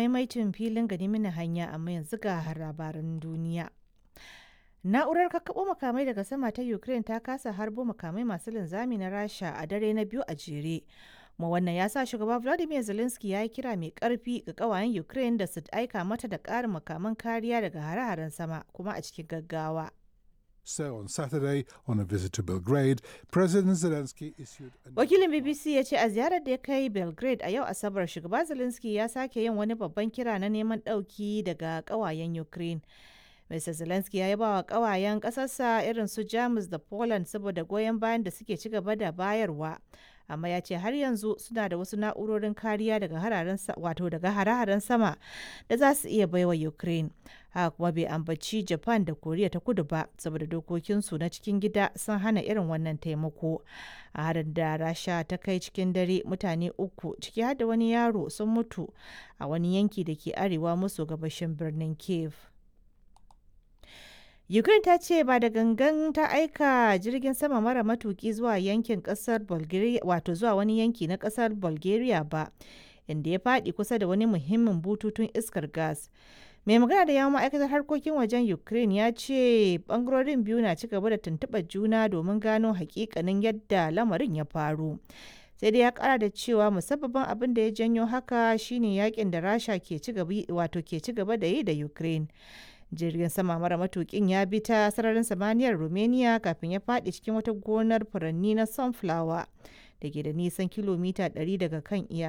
Maimaicin filin gani mini hanya amma yanzu ga labaran duniya. Na'urar kakkaɓo makamai daga sama ta Ukraine ta kasa harbo makamai masu linzami na Rasha a dare na biyu a jere. Kuma wannan ya sa shugaba Vladimir Zelensky ya yi kira mai karfi ga ƙawayen Ukraine da su aika mata da ƙarin makaman kariya daga hare-haren sama kuma a cikin gaggawa. So on Saturday, on a visit to Belgrade, President Zelensky issued a Wakilin BBC ya ce a ziyarar da ya kai Belgrade a yau Asabar, shugaba Zelensky ya sake yin wani babban kira na neman ɗauki daga ƙawayen Ukraine. Mr. Zelensky ya yaba wa ƙawayen ƙasarsa irin su Jamus da Poland saboda goyon bayan da suke ci gaba da bayarwa. Amma ya ce har yanzu suna da wasu na'urorin kariya daga hararen wato daga hare-haren sama da za su iya baiwa Ukraine. Haka kuma bai ambaci Japan da Koriya ta Kudu ba saboda dokokinsu na cikin gida sun hana irin wannan taimako. A harin da Rasha ta kai cikin dare, mutane uku ciki har da wani yaro sun mutu a wani yanki da ke arewa maso gabashin birnin Kiev. Ukraine ta ce ba da gangan ta aika jirgin sama mara matuki zuwa yankin kasar Bulgaria, wato zuwa wani yanki na kasar Bulgaria ba, inda ya faɗi kusa da wani muhimmin bututun iskar gas. Mai magana da yawon ma'aikatar harkokin wajen Ukraine ya ce bangarorin biyu na ci gaba da tuntuɓar juna domin gano hakikanin yadda lamarin ya faru. Sai dai ya kara da cewa musabbabin abin da ya janyo haka shine yakin da Rasha ke ci gaba, wato ke ci gaba da yi da Ukraine. Jirgin sama mara matukin ya bi ta sararin samaniyar Romania kafin ya faɗi cikin wata gonar furanni na sunflower da ke da nisan kilomita 100 daga kan iyaka.